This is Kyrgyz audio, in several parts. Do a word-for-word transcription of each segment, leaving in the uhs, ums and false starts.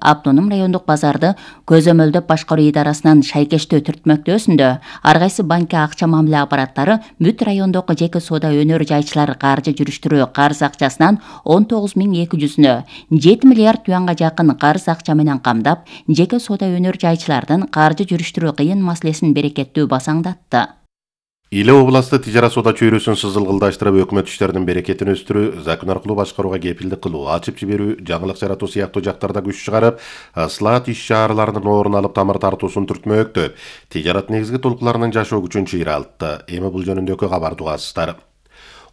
автоном райондук базарды көзөмөлдөп башкаруу идарасынан шайкештөө түртмөктөөсүндө ар кайсы банкке акча мамиле аппараттары бүт райондогу жеке соода өнөр жайчылар каржы жүрүштүрүү карыз акчасынан он тогуз миң эки жүзүнө жети миллиард юанга жакын карыз акча менен камдап, жеке соода өнөр жайчылардын каржы жүрүштүрүү кыйын маселесин берекеттүү басаңдатты. Иле областы тижара соода чөйрөсүн сызылгылдаштырып, өкмөт иштеринин берекетин өстүрүү, закон аркылуу башкарууга кепилдик кылуу, ачып жиберүү, жаңылык жаратуу сыяктуу жактарда күч чыгарып, ыслаат иш-чараларынын орун алып тамыр тартуусун түртмөктөп, тижарат негизги толкуларынын жашоо күчүн чыйралтты. Эми бул жөнүндөгү кабарды угасыздар.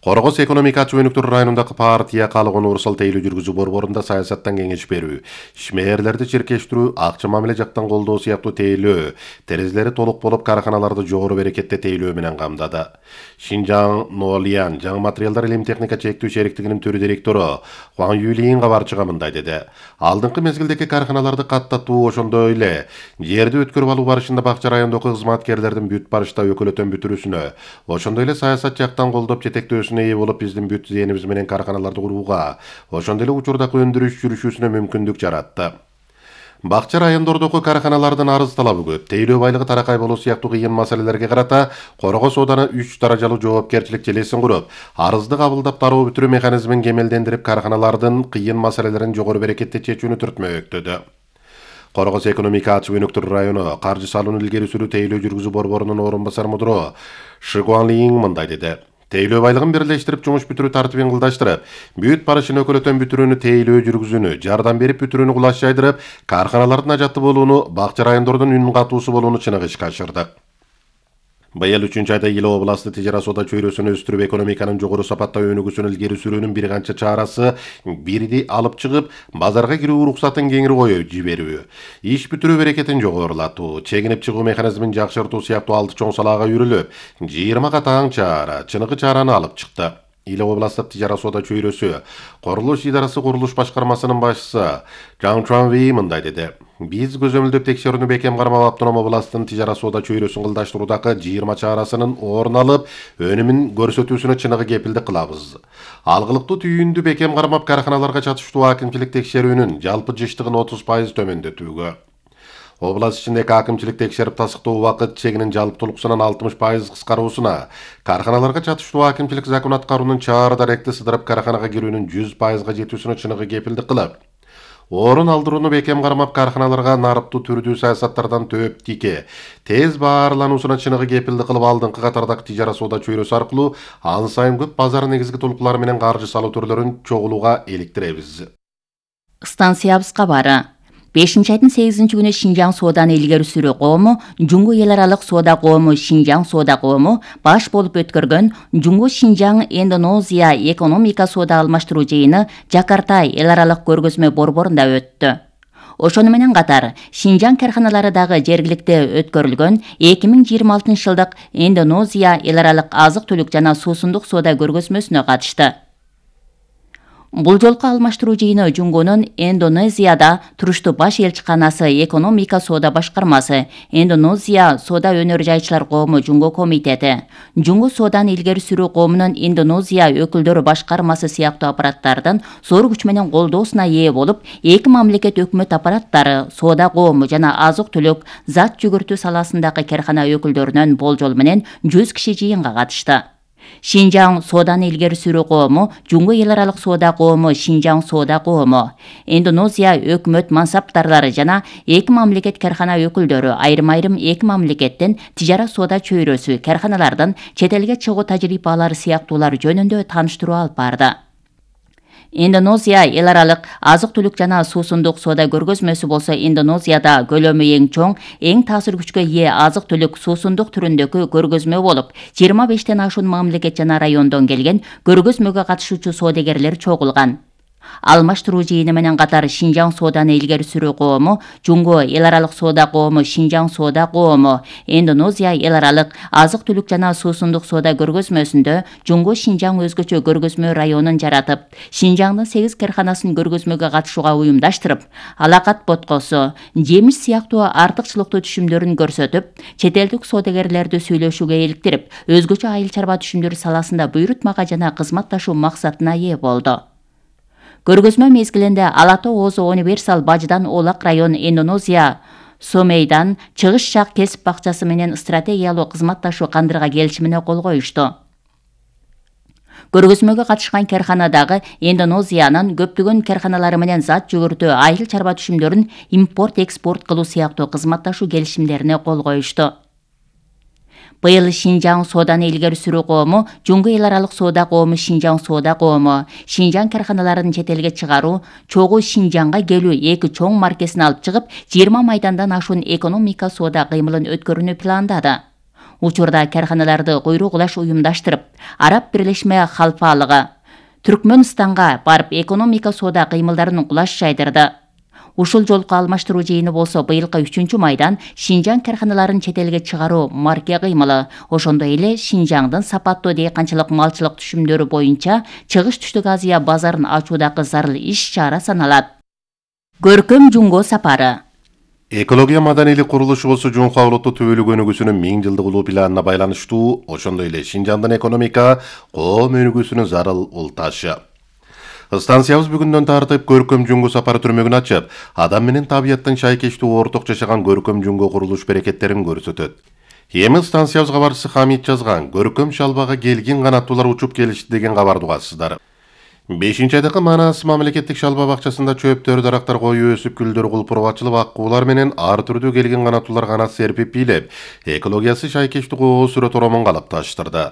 Коргоз экономика ачуу өнүктүрүү районундагы партия калыгын урусал тейлөө жүргүзүү борборунда саясаттан кеңеш берүү, ишмерлерди чиркештирүү, акча мамиле жактан колдоо сыяктуу тейлөө, терезелери толук болуп карканаларды жогору берекетте тейлөө менен камдады. Шинжаң Нолиян жаңы материалдар илим техника чектүү шериктигинин төрү директору Хуан Юлин кабарчыга мындай деди. Алдыңкы мезгилдеги карканаларды каттатуу, ошондой эле жерди өткөрүп алуу барышында бакча райондогу кызматкерлердин бүт барышта өкөлөтөн бүтүрүүсүнө, ошондой эле саясат жактан колдоп жетектөөсүнө ээ болуп биздин бүт зээнибиз менен карканаларды курууга, ошондой эле учурдагы өндүрүш жүрүшүүсүнө мүмкүндүк жаратты. Бакча райондордогу карканалардын арыз талабы көп, тейлөө байлыгы таракай болуу сыяктуу кыйын маселелерге карата Коргоз сооданы үч даражалуу жоопкерчилик желесин куруп, арызды кабылдап дароо бүтүрүү механизмин кемелдендирип, карканалардын кыйын маселелерин жогору берекетте чечүүнү түртмөктөдү. Коргоз экономика ачуу өнүктүрүү району каржы салууну илгери сүрүү тейлөө жүргүзүү борборунун орун басар мудуру Ши Гуанлин мындай деди. Тейлөө байлыгын бирлештирип, жумуш бүтүрүү тартибин кылдаштырып, бүт барышын өкөлөтөн бүтүрүүнү тейлөө жүргүзүүнү, жардам берип бүтүрүүнү кулаш жайдырып, карканалардын ажатты болууну, бакча райондордун үн катуусу болууну чыныгы ишке ашырдык. Быйыл үчүнчү айда Иле областы тижара соода чөйрөсүн өстүрүп, экономиканын жогору сапаттагы өнүгүүсүн илгери сүрүүнүн бир канча чарасы бирди алып чыгып, базарга кирүү уруксатын кеңири коюп жиберүү, иш бүтүрүү берекетин жогорулатуу, чегинип чыгуу механизмин жакшыртуу сыяктуу алты чоң салаага үйрүлүп, жыйырма катаң чара, чыныгы чараны алып чыкты. Иле областык тижара соода чөйрөсү курулуш идарасы курулуш башкармасынын башчысы Жан Чуанви мындай деди. Биз көзөмөлдөп текшерүүнү бекем кармап, автоном областын тижара соода чөйрөсүн кылдаштыруудагы жыйырма чарасынын орун алып, өнүмүн көрсөтүүсүнө чыныгы кепилдик кылабыз. Алгылыктуу түйүндү бекем кармап, карканаларга чатыштуу акимчилик текшерүүнүн жалпы жыштыгын отуз пайыз төмөндөтүүгө, област ичиндеги акимчилик текшерип тастыктоо убакыт чегинин жалптуулук санан алтымыш пайыз кыскаруусуна, карканаларга чатыштуу акимчилик закон аткаруунун чаар даректи сыдырып карканага кирүүнүн жүз пайызга жетүүсүнө чыныгы кепилдик кылып, орун алдырууну бекем кармап, карканаларга нарыптуу түрдүү саясаттардан төп тике, тез баарлануусуна чыныгы кепилдик кылып, алдыңкы катардагы тижара соода чөйрөсү аркылуу ан сайын көп базар негизги толкулары менен каржы салуу түрлөрүн чогулууга иликтиребиз. Станциябызга бары бешинчи айдын сегизинчи күнү Шинжаң сооданы илгери сүрүү коому, Жуңгу эл аралык соода коому Шинжаң соода коому баш болуп өткөргөн Жуңгу Шинжаң Индонезия экономика соода алмаштыруу жыйыны Жакарта эл аралык көргөзмө борборунда өттү. Ошону менен катар Шинжаң карканалары дагы жергиликте өткөрүлгөн эки миң жыйырма алтынчы жылдык Индонезия эл аралык азык-түлүк жана суусундук соода көргөзмөсүнө катышты. Бул жолку алмаштыруу жыйыны Жуңгунун Индонезияда туруштуу баш элчиканасы, экономика соода башкармасы, Индонезия соода өнөр жайчылар коому Жуңгу комитети, Жуңгу сооданы илгери сүрүү коомунун Индонезия өкүлдөрү башкармасы сыяктуу аппараттардын зор күч менен колдоосуна ээ болуп, эки мамлекет өкмөт аппараттары, соода коому жана азык-түлүк, зат жүгүртүү саласындагы каркана өкүлдөрүнөн болжол менен жүз киши жыйынга катышты. Шинжаң сооданы илгери сүрүү коому, Жуңгу эл аралык соода коому, Шинжаң соода коому, Индонезия өкмөт мансаптарлары жана эки мамлекет каркана өкүлдөрү, айрым-айрым эки мамлекеттен тижара соода чөйрөсү, карканалардын чет элге чыгуу тажрыйбалары сыяктуулар жөнүндө тааныштыруу алып барды. Индонезия эл аралык азык-түлүк жана суусундук соода көргөзмөсү болсо Индонезияда көлөмү эң чоң, эң таасир күчкө ээ азык-түлүк суусундук түрүндөгү көргөзмө болуп, жыйырма бештен ашуун мамлекет жана райондон келген көргөзмөгө катышуучу соодагерлер чогулган. Алмаштыруу жыйыны менен катар Шинжаң сооданы илгери сүрүү коому, Жуңгу эл аралык соода коому, Шинжаң соода коому, Индонезия эл аралык азык-түлүк жана суусундук соода көргөзмөсүндө Жуңгу Шинжаң өзгөчө көргөзмө районун жаратып, Шинжаңдын сегиз карканасын көргөзмөгө катышууга уюмдаштырып, алакат боткосу, жемиш сыяктуу артыкчылыктуу түшүмдөрүн көрсөтүп, чет элдик соодагерлерди сүйлөшүүгө иликтирип, өзгөчө айыл чарба түшүмдөр саласында буйрутмага жана кызматташуу максатына ээ болду. Көргөзмө мезгилинде Ала Тоо Оозу Универсал Бажыдан Оолак район Индонезия Сомейдан чыгыш жак кесип бакчасы менен стратегиялуу кызматташуу кандырга келишимине кол коюшту. Көргөзмөгө катышкан карханадагы Индонезиянын көптөгөн карханалары менен зат жүгүртүү, айыл чарба түшүмдөрүн импорт-экспорт кылуу сыяктуу кызматташуу келишимдерине кол коюшту. Быйыл Шинжаң сооданы илгери сүрүү коому, Жуңгу эл аралык соода коому Шинжаң соода коому, Шинжаң карханаларын чет элге чыгаруу, чогуу Шинжаңга келүү эки чоң маркесин алып чыгып, жыйырма майдандан ашуун экономика соода кыймылын өткөрүүнү пландады. Учурда карханаларды куйругулаш уюмдаштырып, Араб Бирлешме Халфалыгы Түркмөнстанга барып экономика соода кыймылдарын кулаш жайдырды. Ушул жолку алмаштыруу жыйыны болсо быйылкы үчүнчү майдан Шинжаң карханаларын чет элге чыгаруу марке кыймылы, ошондой эле Шинжаңдын сапаттуу дыйканчылык малчылык түшүмдөрү боюнча Чыгыш Түштүк Азия базарын ачуудагы зарыл иш-чара саналат. Көркөм Жуңго сапары. Экология маданийлик курулушу болсо Жуңху улуттуу түбөлүк өнүгүүсүнүн миң жылдык улуу планына байланыштуу, ошондой эле Шинжаңдын экономика, коом өнүгүүсүнүн зарыл улташы. Станциябыз бүгүндөн тартып Көркөм Жуңго сапары түрмөгүн ачып, адам менен табияттын шайкештүү орток жашаган Көркөм Жуңго курулуш берекеттерин көрсөтөт. Эми станциябыз кабарчысы Хамит жазган Көркөм Шалбага келгин канаттуулар учуп келишти деген кабарды угасыздар. бешинчи айдагы Манас мамлекеттик шалба бакчасында чөптөр, дарактар коюу өсүп, гүлдөр кулпуруп ачылып, аккуулар менен ар түрдүү келген канаттуулар канат серпип бийлеп, экологиясы шайкештүү коо сүрө торомон калыпташтырды.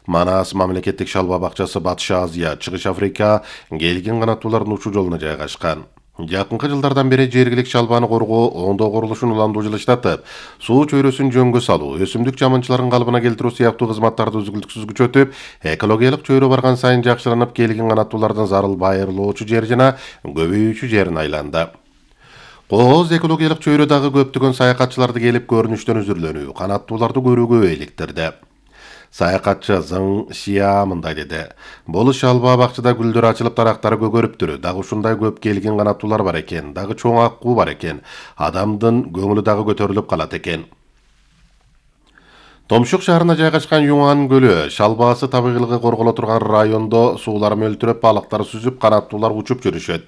Манас мамлекеттик шалба бакчасы Батыш Азия, Чыгыш Африка келген канаттуулардын учуу жолуна жайгашкан. Жакынкы жылдардан бери жергилик шалбаны коргоо, оңдоо курулушун уламдуу жылыштатып, суу чөйрөсүн жөнгө салуу, өсүмдүк жамынчыларын калыбына келтирүү сыяктуу кызматтарды үзгүлтүксүз күчөтүп, экологиялык чөйрө барган сайын жакшыранып, келген канаттуулардын зарыл байырлоочу жер жана көбөйүүчү жерин айланды. Кооз экологиялык чөйрө дагы көптөгөн саякатчыларды келип көрүнүштөн үзүрлөнүү, канаттууларды көрүүгө иликтирди. Саякатчы Зың Шия мындай деди. Бул шалба бакчада гүлдөр ачылып, дарактары көгөрүптүр. Дагы ушундай көп келген канаттуулар бар экен, дагы чоң аккуу бар экен. Адамдын көңүлү дагы көтөрүлүп калат экен. Томшук шаарына жайгашкан Юңан көлү шалбасы табигыйлыгы корголо турган райондо суулар мөлтүрөп, балыктар сүзүп, канаттуулар учуп жүрүшөт.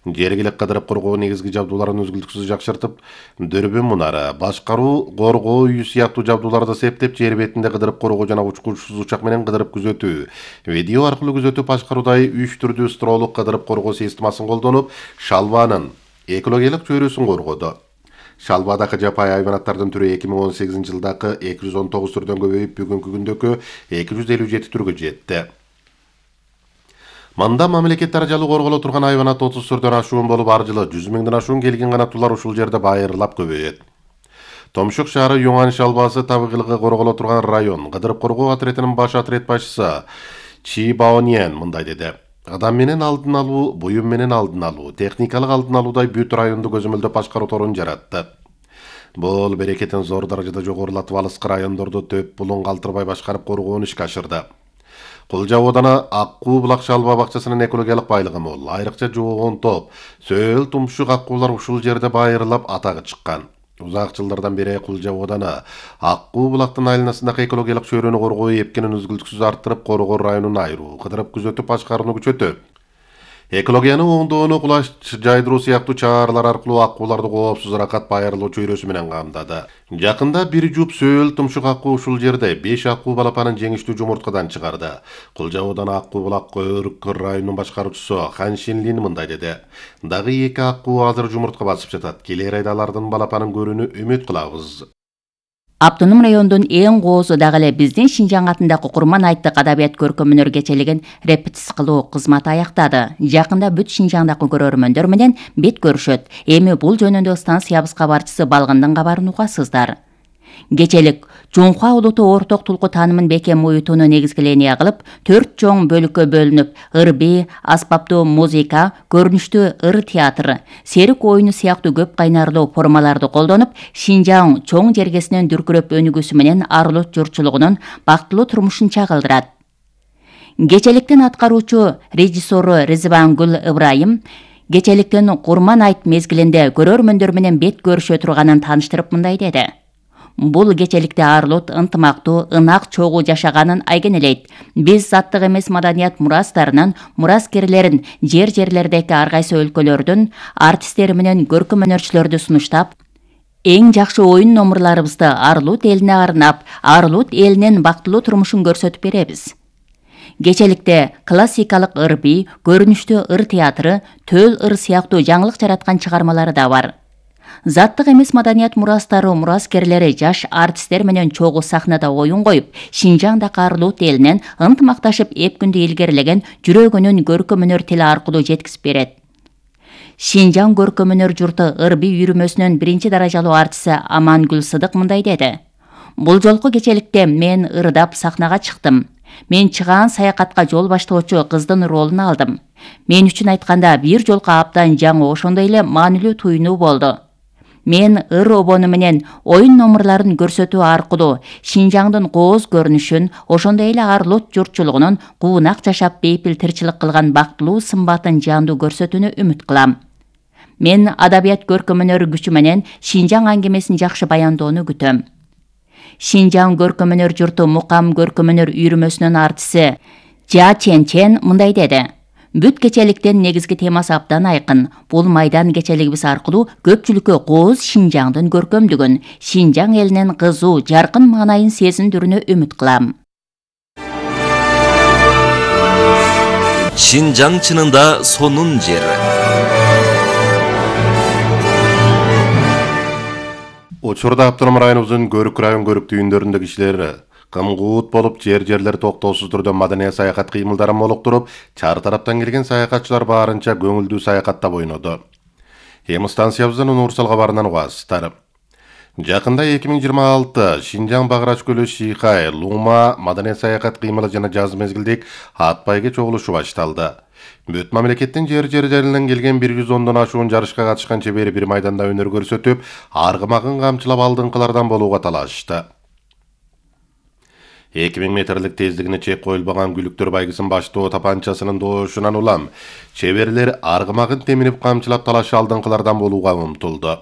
Жергилик кыдырып коргоо негизги жабдууларын үзгүлтүксүз жакшыртып, дүрбүн мунары, башкаруу, коргоо үйү сыяктуу жабдууларды септеп, жер бетинде кыдырып коргоо жана учкучсуз учак менен кыдырып күзөтүү, видео аркылуу күзөтүп башкаруудай үч түрдүү строолук кыдырып коргоо системасын колдонуп, шалбанын экологиялык чөйрөсүн коргоду. Шалбадагы жапайы хайванаттардын түрү эки миң он сегизинчи жылдагы эки жүз он тогуз түрдөн көбөйүп, бүгүнкү күндөгү эки жүз элүү жети түргө жетти. Мында мамлекет даражалуу корголо турган хайванат отуз түрдөн ашуун болуп, ар жылы жүз миңден ашуун келген канаттуулар ушул жерде байырлап көбөйөт. Томшук шаары Юңан шалбасы табигыйлыгы корголо турган район кыдырып коргоо отрядынын баш отряд башчысы Чи Баоньен мындай деди. Адам менен алдын алуу, буюм менен алдын алуу, техникалык алдын алуудай бүт районду көзөмөлдөп башкаруу торун жаратты. Бул берекетин зор даражада жогорулатып, алыскы райондорду төп булун калтырбай башкарып коргоону ишке ашырды. Кулжа оодана Аккуу булак шалба бакчасынын экологиялык байлыгы мол, айрыкча жоогон топ, сөл тумшук аккуулар ушул жерде байырлап атагы чыккан. Узак жылдардан бери Кулжа оодана Аккуу булактын айланасындагы экологиялык чөйрөнү коргоо эпкенин үзгүлтүксүз арттырып, коргоо районун айыруу, кыдырып күзөтүп башкарууну күчөтөт. Экологияны оңдоону кулаш жайдыруу сыяктуу чаралар аркылуу аккууларды коопсуз аракат байырлоо чөйрөсү менен камдады. Жакында бир жуп сөл тумшук аккуу ушул жерде беш аккуу балапанын жеңиштүү жумурткадан чыгарды. Кулжа оодана Аккуу булак Өркөр районунун башкаруучусу Хан Шинлин мындай деди. Дагы эки аккуу азыр жумуртка басып жатат. Келер айда алардын балапанын көрүүнү үмүт кылабыз. Автоном райондун эң коозу дагы эле биздин Шинжаң атындагы Курман айттык адабият көркөм-өнөр кечелигин репетиция кылуу кызматы аяктады. Жакында бүт Шинжаңдагы көрөрмөндөр менен бет көрүшөт. Эми бул жөнүндө станциябыз кабарчысы Балгындын кабарын угасыздар. Кечелик Жуңху улуттуу орток тулку таанымын бекем уютууну негизгиления кылып, төрт чоң бөлүккө бөлүнүп, ыр-би, аспаптуу музыка, көрүнүштүү ыр театры, серик оюну сыяктуу көп кайнарлуу формаларды колдонуп, Шинжаң чоң жергесинен дүркүрөп өнүгүүсү менен ар улут журтчулугунун бактылуу турмушун чагылдырат. Кечеликтин аткаруучу режиссеру Ризбангүл Ыбрайым кечеликтин Курман айт мезгилинде көрөрмөндөр менен бет көрүшө турганын тааныштырып мындай деди. Бул кечеликте Арлут ынтымактуу, ынак чогуу жашаганын айгинелейт. Биз заттык эмес маданият мурастарынын мураскерлерин жер-жерлердеги ар кайсы өлкөлөрдүн артисттери менен көркөм өнөрчүлөрдү сунуштап, эң жакшы оюн номурларыбызды Арлут элине арнап, Арлут элинин бактылуу турмушун көрсөтүп беребиз. Кечеликте классикалык ыр би, көрүнүштүү ыр театры, төл ыр сыяктуу жаңылык жараткан чыгармалары да бар. Заттык эмес маданият мурастары мураскерлери жаш артисттер менен чогуу сахнада оюн коюп, Шинжаңдагы Арлут элинен ынтымакташып эп күндү илгерилеген жүрөгүнүн көркөм өнөр тили аркылуу жеткизип берет. Шинжаң көркөм өнөр журту ыр би үйрүмөсүнүн биринчи даражалуу артисти Амангүл Сыдык мындай деди. Бул жолку кечеликте мен ырдап сахнага чыктым. Мен чыгаан саякатка жол баштоочу кыздын ролун алдым. Мен үчүн айтканда бир жолку абдан жаңы, ошондой эле маанилүү туюнуу болду. Мен ыр обону менен оюн номурларын көрсөтүү аркылуу Шинжаңдын кооз көрүнүшүн, ошондой эле Арлут журтчулугунун куунак жашап бейпил тирчилик кылган бактылуу сымбатын жандуу көрсөтүүнү үмүт кылам. Мен адабият көркөм өнөр күчү менен Шинжаң аңгемесин жакшы баяндоону күтөм. Шинжаң көркөм өнөр журту Мукам көркөм өнөр үйрүмөсүнүн артисти Жа Чен Чен мындай деди. Бүт кечеликтин негизги темасы абдан айкын. Бул майдан кечелигибиз аркылуу көпчүлүккө кооз Шинжаңдын көркөмдүгүн, Шинжаң элинин кызуу, жаркын маанайын сезиндирүүнү үмүт кылам. Шинжаң чынында сонун жер. Учурда автоном районубуздун Көрүк район көрүк түйүндөрүндө кишилер кымгуут болуп жер-жерлер токтоосуз түрдө маданий саякат кыймылдарын молуктуруп, чар тараптан келген саякатчылар баарынча көңүлдүү саякаттап ойноду. Эми станциябыздын Нуурсал кабарынан угасыздар. Жакында эки миң жыйырма алты Шинжаң Багырач көлү Шийкай, Лума маданий саякат кыймылы жана жаз мезгилдик ат байге чогулушу башталды. Бүт мамлекеттин жер-жерлеринен келген бир жүз ондон ашуун жарышка катышкан чебери бир майданда өнөр көрсөтүп, аргымагын камчылап алдыңкылардан болууга талашты. эки миң метрлик тездигине чек коюлбаган Күлүктөр байгысын баштоо тапанчасынын доошунан улам чеберлер аргымагын теминип камчылап талашы алдыңкылардан болууга умтулду.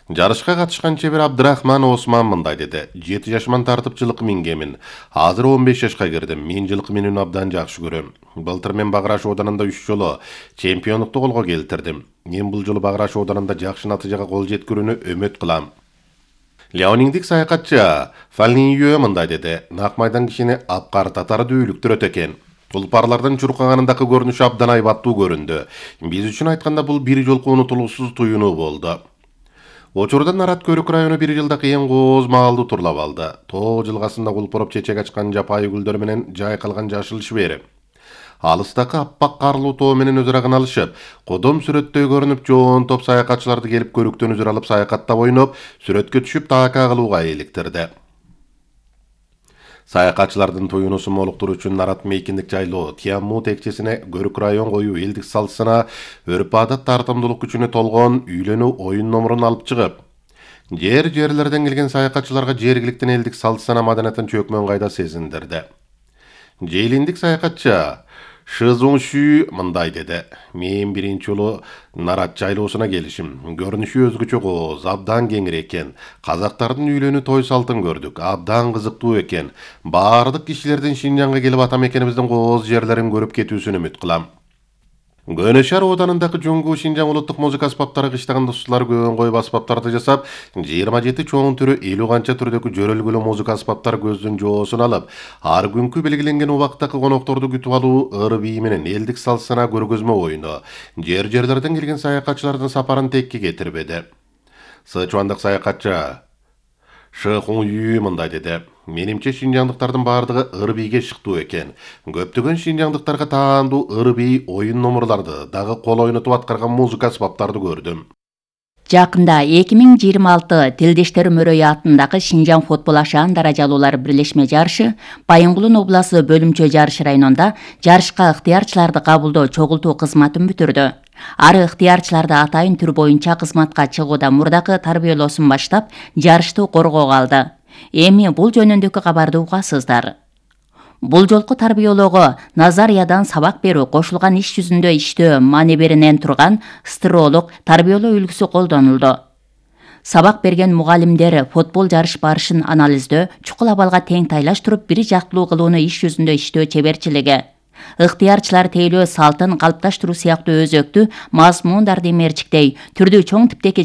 Жарышка катышкан чебер Абдырахман Осман мындай деди. жети жашыман тартып жылкы мингемин. Азыр он беш жашка кирдим. Мен жылкы минүүнү абдан жакшы көрөм. Былтыр мен Багыраш оданында үч жолу чемпиондукту колго келтирдим. Мен бул жолу Багыраш оданында жакшы натыйжага кол жеткирүүнү үмүт кылам. Леониндик саякатчы Фалниюэ мындай деди. Нак майдан кишини апкартатары дүүлүктүрөт экен. Тулпарлардын чуркаганындагы көрүнүшү абдан айбаттуу көрүндү. Биз үчүн айтканда бул бир жолку унутулуусуз туюнуу болду. Учурда Нарат Көрүк району бир жылдагы эң кооз маалды турлап алды. Тоо жылгасында кулпуруп чечек ачкан жапайы гүлдөр менен жайкалган жашыл шибери. Алыстакы аппак карлуу тоо менен өзүрагын алышып, кодом сүрөттөй көрүнүп жоон топ саякатчыларды келип көрүктөн үзүр алып саякаттап ойноп, сүрөткө түшүп таaka кылууга иликтирди. Саякатчылардын туюнусун молуктуруу үчүн Нарат мейкиндик жайлоо Тиамму текчесине Көрүк район коюу элдик салсына өрп-адат тартымдуулук күчүнө толгон үйлөнүү оюн номурун алып чыгып, жер-жерлерден келген саякатчыларга жергиликтин элдик салсына маданиятын чөкмөн кайда сезиндирди. Жейлиндик саякатчы Шызуңшү мындай деди. Мен биринчи жолу Нарат жайлоосуна келишим. Көрүнүшү өзгөчө кооз, абдан кеңир экен. Казактардын үйлөнүү той салтын көрдүк. Абдан кызыктуу экен. Баардык кишилердин Шинжаңга келип ата мекенибиздин кооз жерлерин көрүп кетүүсүн үмүт кылам. Көнөшар оданындагы Жуңгу Шинжаң улуттук музыка аспаптары кыштаган достуулар көбөн коюп аспаптарды жасап, жыйырма жети чоң түрү элүү канча түрдөгү жөрөлгүлүү музыка аспаптары көздүн жоосун алып, ар күнкү белгиленген убактагы конокторду күтүп алуу ыр бий менен элдик салсына көргөзмө оюну жер-жерлерден келген саякатчылардын сапарын текке кетирбеди. Сычуандык саякатчы Шыхуңю мындай деди. Менимче шинжаңдыктардын баардыгы ыр бийге шыктуу экен. Көптөгөн шинжаңдыктарга таандуу ыр бий оюн номурларды, дагы кол ойнотуп аткарган музыка аспаптарды көрдүм. Жакында эки миң жыйырма алты Тилдештер мөрөйү атындагы Шинжаң футбол ашаан даражалуулар бирлешме жарышы Байынгулун обласы Бөлүмчө жарыш районунда жарышка ыктыярчыларды кабылдоо чогултуу кызматын бүтүрдү. Ары ыктыярчыларды атайын түр боюнча кызматка чыгууда мурдагы тарбиялоосун баштап, жарышты коргоого алды. Эми бул жөнүндөгү кабарды угасыздар. Бул жолку тарбиялоого назариядан сабак берүү, кошулган иш жүзүндө иштөө манеберинен турган стыролук тарбиялоо үлгүсү колдонулду. Сабак берген мугалимдер футбол жарыш барышын анализдөө, чукул абалга тең тайлаштырып, бир жактылуу кылууну иш жүзүндө иштөө чеберчилиги. Ыктыярчылар тейлөө салтын калыпташтыруу сыяктуу өзөктүү мазмундарды мерчиктей, түрдүү чоң типтеги